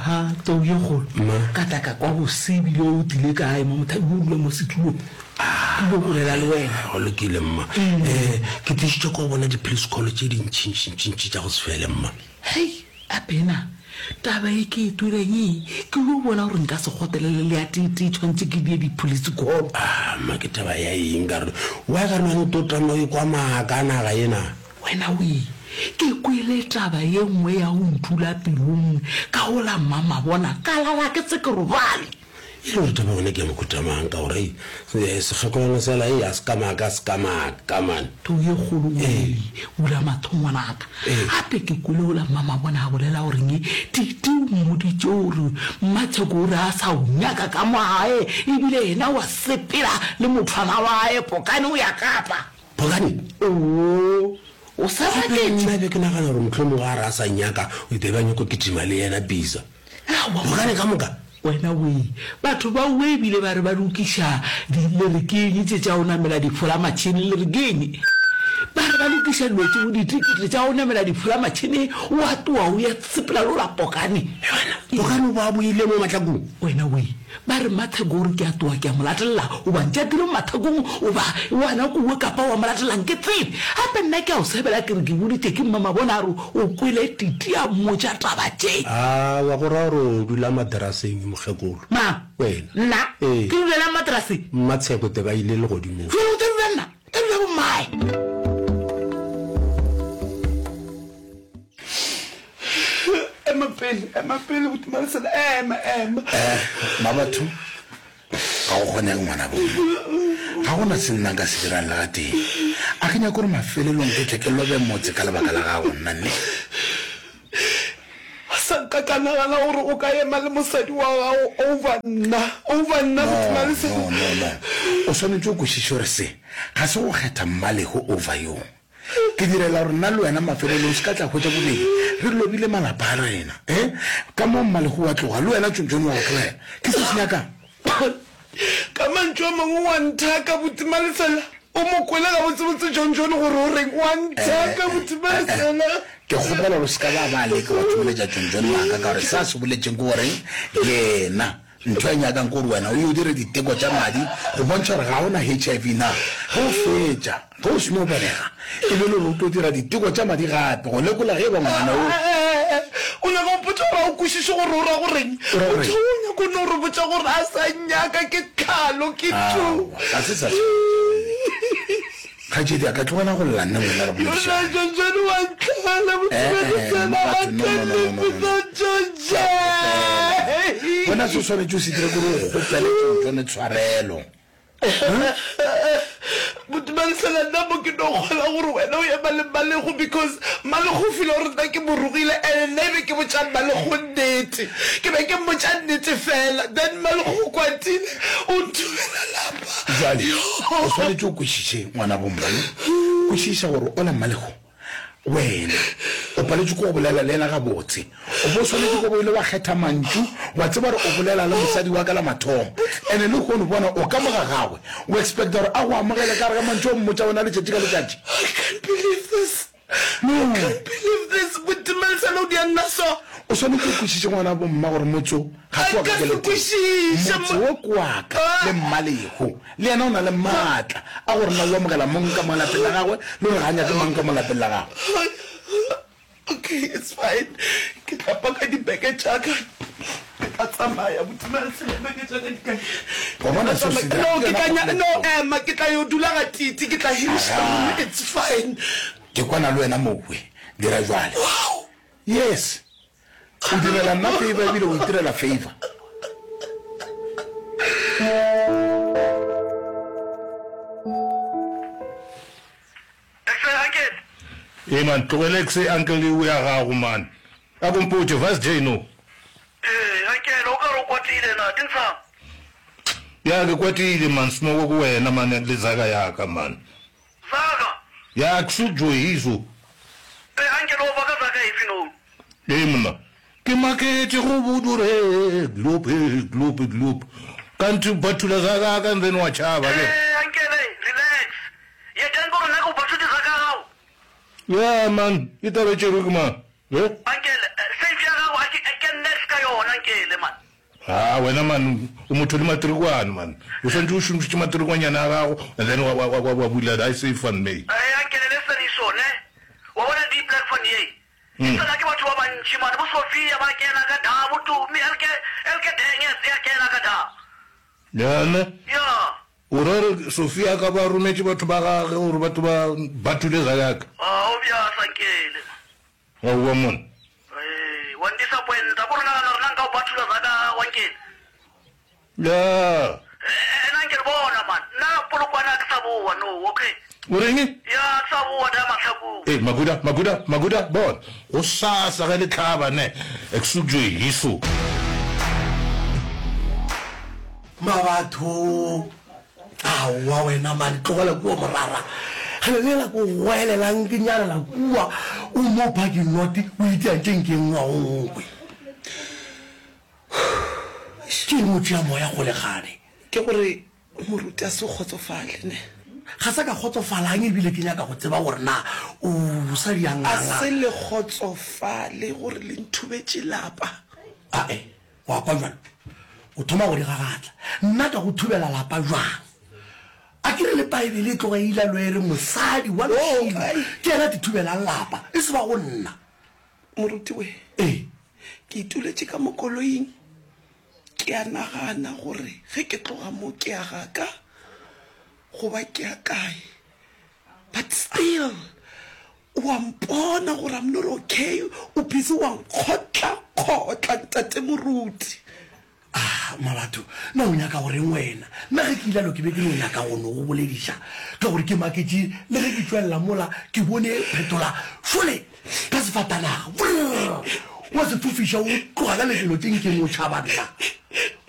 Aha, tau ye kgolo. Mma. Ka tla ka kwa bose ebile o tlile kae mo mothabi o dula mo setulong. Ke ile go bolela le wena. Go lokile mma. Um ke tlišitše ko go bona di-police call tše dintšintšintšintši tša go se fele mma. Hei, Abena, taba e ke e tweleng e, ke yo bona gore nka se kgotelele le ya tee-tee tshwanetse ke die di-police call. Ah, mma ke taba ya eng ka re wa ka re wena o tlo tama o ekwa maaka a naga ena. Wena wee, ke kwele taba ye nngwe ya go ntula pelong ka go la mmamabona ka lala ke se ke robale. E le gore taba yona ke ya mohuta mang ka gore ei sekgekolwana sela ei a se ka maaka a se ka maaka man. Tau ye kgolo wee, bula mahlo ngwanaka. Gape ke kwele go la mmamabona a bolela gore nge Titi o mmoditše gore Mmatsheko o re a sa o nyaka ka mo gae ebile yena wa sepela le mothwana wa gae Pokane o ya Kapa. Pokane? Oo, o sa Gape maketše? nna be ke nagana gore mohlomongwe a re a sa nyaka o be ba nyako kitima le yena Bisa. Aowa. Pokane ka moka? Wena wee, batho ba owe ebile ba re ba lokiša di, le re ke eng tše tša go namela difolamatšhene, le re ke eng? Ba re ba lokiša dilo tšeo, ditikete tša go namela difolamatšhene, o a tloga o ya sepela le ola Pokane. Wena, Pokane o bo a boile mo mahlakong? Wena wee, Ba re, Matheko o re ke a tloga ke a mo latelela, o ba ntšatile mo mathekong, o ba wana kowe kapa wa mo latelang ke tsebe. Gape nna ke a o sebela ke re ke boditše ke mmamabona a re o kwele Titi a mmotša taba tše. Aowa, go ra gore o dula materaseng mokgekolo. Mang? Wena. Nna? Ee. Ke dulelang materaseng? Mmatsheko te ba ile legodimong. Jwale o tla dula nna? O tla dula bommae? Ema pele, ema pele, buti Malesela, ema, ema. Eh, Mmabatho, ga go kgonege ngwana bo mma. Ga go na se nna nka se dirang le gatee. A ke nyake gore mafelelong ke tle ke lobe motse ka lebaka la gago, nna nne. Ga sa nka ka nagana gore o ka ema le mosadi wa gago over nna, over nna, buti Malesela. No, no, no, no. O swanetše o kwešiše gore se ga se go kgetha Mmalego over yo. Ke direla gore nna le wena mafelelong se ka tla hwetša bobedi re lobile malapa a rena. Eh? Ka mo Mmalego wa tloga, le wena Tšontšone wa go tlogela. Ke se se nyakang. Ka mantšu a mangwe wa nthaka, Buti Malesela. O mo kwele gabotsebotse Tšontšone gore o reng? Wa nthaka, Buti Malesela. Ke kgopela gore o se ka ba ba leka wa thomeletša Tšontšone maaka ka gore se a se boletšeng ke gore yena Ntho e nyakang ke gore wena o yo dire diteko tša madi go bontšha gore ga o na HIV na. Ge o fetša, ge o seno belega, e be le gore o tlo dira diteko tša madi gape go lekola ge e ba ngwana o. O nyaka go mpotša gore ga o kwešiše gore o ra go reng? O ra go reng? Motho o nyaka go no re botša gore a sa nnyaka ke tlhalo, ke tu. Aowa, ga se sa swanetše. Kgaetšedi a ka tlogela go lla nna wena re boledišane. Wena se o swanetše o se dire kore o kgopele Tšontšone tshwarelo. Botumalesela nna mo ke no kgola gore wena o ema le Mmalego because Mmalego o feel gore nna ke mo rogile and nna e be ke botša Mmalego nnete. Ke be ke mmotša nnete fela then Mmalego o kwatile o nthubela lapa. Bjale, o swanetše o kwešiše, ngwanabo mma, ne? Kwešiša gore ola Mmalego, wena o paletšwe ke go bolela le yena gabotse. O bo swanetše go bo ile wa kgetha mantšu, wa tseba gore o bolela le mosadi wa ka la mathomo. Ene lehono bona o ka mo ga gagwe, o expecta gore a go amogele ka gare ga mantšu o mmotša ona letšatši ka letšatši? I can't believe this. No. I can't believe this. Botimalesela o dia nna so. O swanetše o kwešiše ngwana bo mma gore motse o ga se wa ka Nka se ke le tee. kwešiše Motse wo ke wa ka le Mmalego. Le yena o na le maatla a gore na o amogela mong ka mo lapeng la gagwe le gore ga a nyake mang ka mo lapeng la gagwe. Okay, it's fine. Ke tla paka dibeke tša ka. Ke tla tsamaya. Botimalesela dibeke tša ka di kae? Wa bona seo se dira? No, ke tla nya, no, ema, ke tla yo dula ga Titi, ke tla hiriša room, it's fine. Ke kwana le wena mowe, dira jwale. Wow! Yes. O direla nna favor ebile o itirela favor. Exe uncle. Ee man, tlogela exe uncle eo ya gago man. A ko mpotše, Vice J no. Ee uncle, o ka re o kwatile na, ke ntshang? Ya ke kwatile man, smoko ke wena man le zaka ya ka man. Zaka? Ya ke so joyiso. Ee uncle, o baka zaka efe no? Ee monna, ke maketše go bodure gloop gloop gloop. Kanthe ba thula zaka ya ka and then wa tšhaba ke. Ee uncle, relax. Ye tang gore nna ke go bathuti zaka ya gago. Ya man, e taba e tšerwe ke mang? He? Uncle, safe ya gago a ke ke next ka yona. yona nkele man. Ha wena man o motho le matrikwane man. O swantse o šomišitše matrikwanyana a gago and then wa wa wa wa bula I say van may. Ee ankele le seniso ne. Wa bona di black van ye. E tsena ke batho ba bantši man bo Sophia ba kena ka da bo Tumi elke elke Denges ya kena ka da. Ya ne? Ya. O ra gore Sophia a ka ba rometše batho ba gage gore batho ba ba thule Zayaka? Ah o bja sankele man. Aowa monna. Ee, wa ndisappointa. Ko re nagana gore na nka o bathula za ka wankele. Ya. Ena nke re bona man. Nna Polokwane a ke sa boa no, okay. O reng? Ya, ke sa boa da Mahlakung. Ee, Makuda, Makuda, Makuda, bona. Gosasa ge le hlaba ne, ek sukjo hiso. Mabatho, Aowa wena man, tlogela kua morara. Ge lela ko goelelang ke nyarela kua, o mo parking lot o itia tše nke ngwa o nkwe. Ke eng o tšea moya kgole gane? Ke gore moruti a se kgotsofale ne. Ga sa ka kgotsofalang ebile ke nyaka go tseba gore na o sa di A se le kgotsofale gore le nthubetše lapa. Ae, Wa kwa bjalo? O thoma go di gagatla. Nna ka go thubela lapa bjang? A ke re le Paebele e tloga e ile lo e re mosadi wa lešilo ke yena a te thubelang lapa, e se ba go nna. Moruti we, Ee. ke ituletše ka mo koloing, ke a nagana gore ge ke tloga mo ke ya ga ka goba ke ya kae. But still O a mpona gore I'm not okay, o busy wa nkgotla-kgotla ntate moruti. Ah, Mabatho, na o nyaka go reng wena? Nna ge ke ilalo ke be ke no nyaka go no go bolediša ka gore ke maketše le ge ke tšwelela mola ke bone phetola šole ka sefatanaga. Brrr! Wa se fofiša o tloga ka lebelo tše nkeng o tšhaba nna.